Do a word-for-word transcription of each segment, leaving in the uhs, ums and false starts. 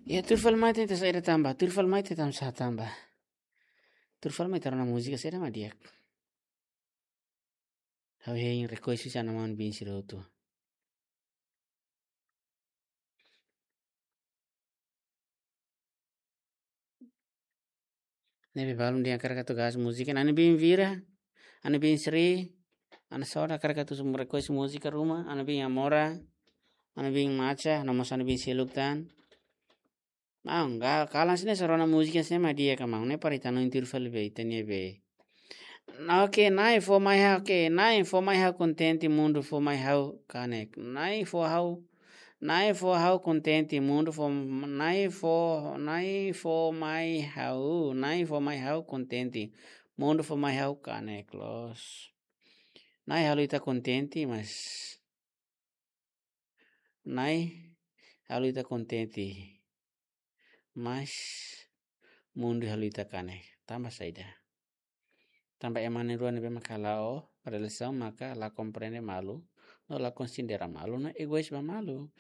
Ya, tuir fali mai ita saida tanba, tuir fali mai ita tanba sá tanba. Tuir fali mai ita rona múzika saida mak di'ak. Ha'u hein request husi Ana-Maun Bin Sri hotu. Ne'ebé balun dehan hakarak atu gás múzika, Ana-Maun Bin Vira, Ana-Maun Bin Sri, Ana Soda hakarak atu request múzika ruma, Ana-Maun Bin Amora, Ana-Maun Bin Macha, no mós Ana-Maun Bin Seluk tan. Maun, ga-, kalan sira-ne'e só rona múzika sira-ne'e mak di'ak ka maun, ne'e para ita hanoin tuir fali be, ita-nia be. Oke, Na'i fó mai ha'u, oke, Na'i fó mai ha'u kontente, mundu fó mai ha'u kanek. Na'i fó ha'u, Na'i fó ha'u kontente, mundu fó, Na'i fó, Na'i fó mai ha'u, Na'i fó mai ha'u kontente, mundu fó mai ha'u kanek loos. Na'i halo ita kontente, mas Na'i halo ita kontente, mas mundu halo ita kanek. Tanba saida? Tanba ema na'in-rua ne'ebé maka la'o relasaun maka la komprende malu, no la konsidera malu, no egois ba malu.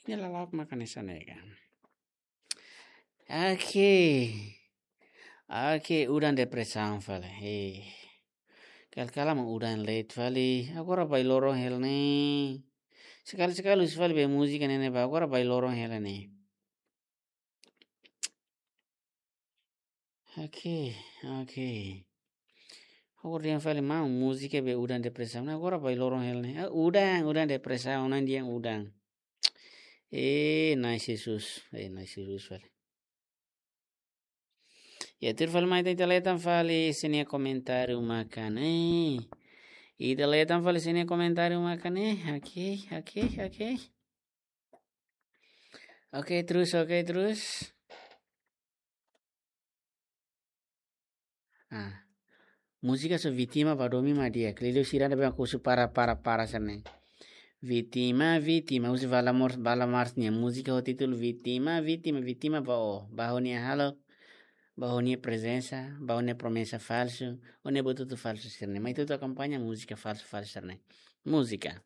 Ida-ne'e lala'ok maka hanesan ne'e ka. Oke. Oke, udan depresaun fali. Hei. Kala-kala mak udan leet fali. Agora bailoron hela ne'e. Sekali-sekali husu fali be múzika ne'e ne'ebá, agora bailoron hela ne'e. Oke, oke. Agora dehan fali maun, múzika be udan depresaun. Agora bailoron hela ne'e. Ah, udan, udan depresaun, Na'i dehan udan. Eh, Na'i Jesus. Eh, Na'i Jesus fali. Ya, tuir fali mai ita leten fali sira-nia komentáriu maka ne'e. Ita leten fali sira-nia komentáriu maka ne'e. Oke, oke, oke. Oke, terus, oke, terus. Ah. Múzika só vítima ba domin mak di'ak. Liuliu sira ne'ebé mak husu para, para, para sira-ne'e. Vítima, vítima. Husi Valamor, Valamars nia múzika ho títulu Vítima, vítima, vítima ba ó. Ba ó-nia hahalok, ba ó-nia prezensa, ba ó-nia promesa falsu, ó-nia bututu falsu sira-ne'e. Mai ita akompaña múzika falsu, falsu sira-ne'e. Múzika.